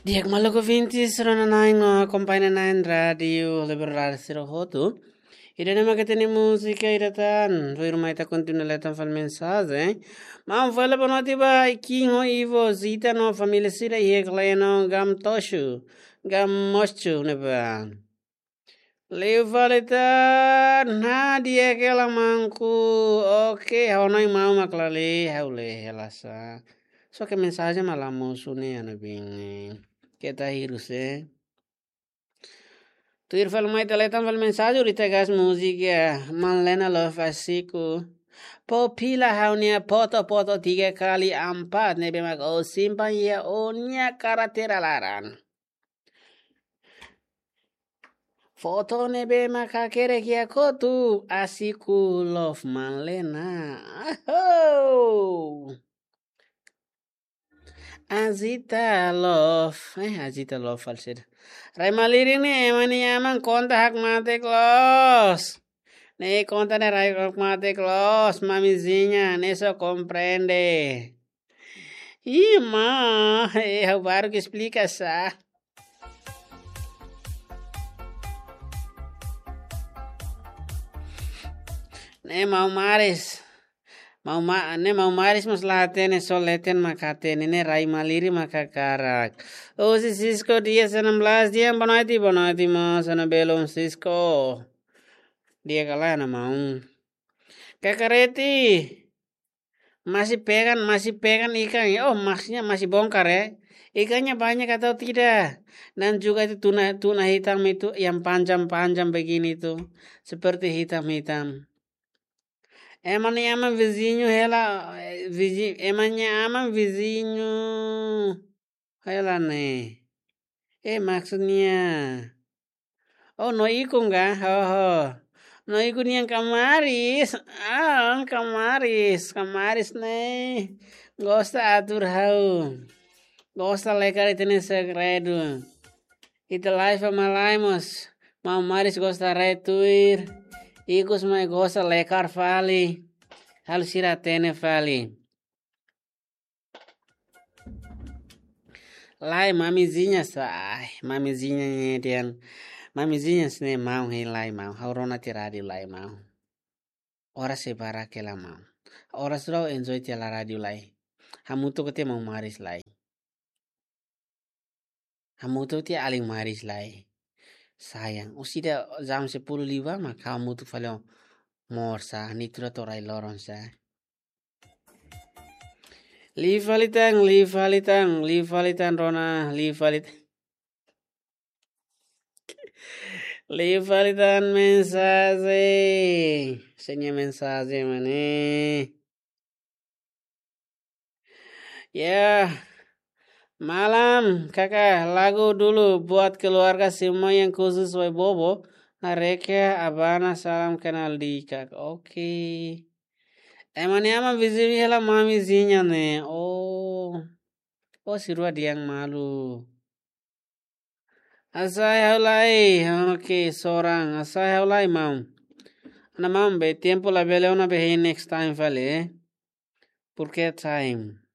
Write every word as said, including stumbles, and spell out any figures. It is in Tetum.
Di'ak maluk ouvintes, rona-na'in no akompaña-na'in Rádiu Liberal sira hotu. Ida-ne'e mak hatene múzika ida tan, tuirmai ita kontinua leten fali mensajen. Maun fali boa noite ba Ikinho, Ivo, Zita no família sira iha Kleno, Gam Toxu, Gam Moxu ne'ebá. Liu fali tan, ha'u di'ak hela maun. Oke, ha'u-nia maun mak la lee, ha'u lee hela sá. Só ke mensajen mak la mosu ne'e, anu bin. Keta hirus, eh. Tuir fali mai ita leten fali mensajen, ita gas múzika, Manlena Love Asiku. Popila ha'u-nia foto-foto tiga kali empat, ne'ebé mak ó simpan iha ó-nia karteira laran. Foto ne'ebé mak hakerek iha kotuk, Asiku Love Manlena. Aho! Azita Love. Eh, Azita Love fali saida. Rai malirin ne'e, ema nia aman konta hakmatek loos. Ne'e konta ne'e rai hakmatek loos, mamizinha, ne'e só komprende. Ih, ma, eh, ha'u baru ke esplika sá. Ne'e maun Maris. Maun Ma-, ne'e maun Maris mós la hatene, só leten mak hatene, ne'e rai malirin mak hakarak. Husi Cisco dia enam belas dia, boa noite, boa noite, maun, sana belum Cisco. Di'ak ka lae, maun. Kakareti. Masih pegang, masih pegang ikan. Oh, maksudnya masih bongkar, ya. Ikannya banyak atau tidak? Dan juga itu tuna, tuna hitam itu yang panjang-panjang begini itu. Seperti hitam-hitam. Ema nia aman vizinho hela, eh, vizi-, ema nia aman vizinho hela ne'e. Eh, maksudnya. Oh, no ikun ka? Ho, ho. No ikun nian kamaris. Ah, kamaris. Kamaris ne'e gosta atur ha'u. Gosta lekar ita-nia segredu. Ita live mak lae mós. Maun Maris gosta rai tuir. Ikus mai gosta lekar fali. Halo sira hatene fali. Lae, mamizinha sá, ai, mamizinha ne'e dehan. Mamizinha ne'e maun hein lae maun. Ha'u rona tiha rádiu lae maun. Oras sei barak hela maun. Oras rau enjoy tiha la rádiu lae. Hamutuk tiha maun Maris lae. Hamutuk tiha alin Maris lae. Sayang, orsida jam sepuluh liubá mak hamutuk fali ho Mor sá, ne'e atu rai loron sá. Liu fali tan, liu fali tan, liu fali tan rona, liu fali tan. Liu fali tan mensajen. Sira-nia mensajen mak ne'e. Ya. Malam, kakak, lagu dulu buat keluarga semua yang khusus Wai Bobo, Nareka, Abana, salam kenal di kak. Oke. Ema nia aman vizinho hela mamizinha ne'e. Oh. Oh, sira rua dehan malu. Hasai ha'u lai. Oke, seorang. Hasai ha'u lai, maun. Ana maun be, tempu labele ona be, hein next time fali, eh. Porque time.